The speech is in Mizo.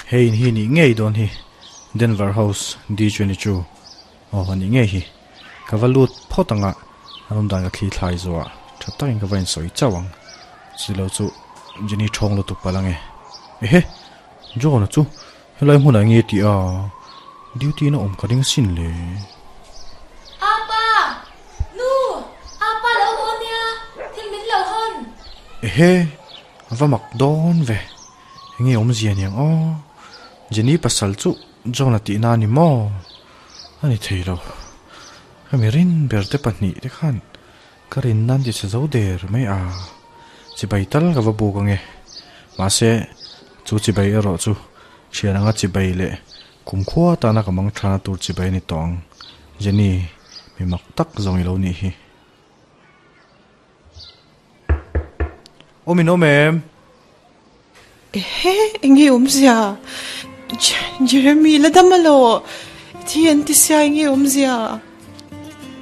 Hei in hi nih ngei dawn hi Denver House D22 aw a nih ngei hi. Ka va lut phawt ang a, a awm dan ka thli thlai zawh ah tha takin ka va insawi chauh ang. Chilo chu Jenny thawng lutuk palh ange. Ehe! John-a chu helai hmunah nge tih a duty na awm ka ring sin le. Apa! Nu! Apa lo haw nia, thil min lo hawn. Ehe! A va mak dawn ve. Enge awmzia niang aw. Jenny pasal chu John-a tihna a ni maw? A ni thei lo. Hemi rin ber te pahnihte khan Ka rin nan ti chhe zo der mai a, chibai tal ka va buk ange. Mahse, chu chibai erawh chu thian anga chibai leh kumkhua tana ka mang thana tur chibai a ni tawh ang. Jenny, mi mak tak zawng i lo nih hi. Awm in awm em? Ehe, enge awmzia? Jeremy la dam alaw? I thi an ti sia enge awmzia?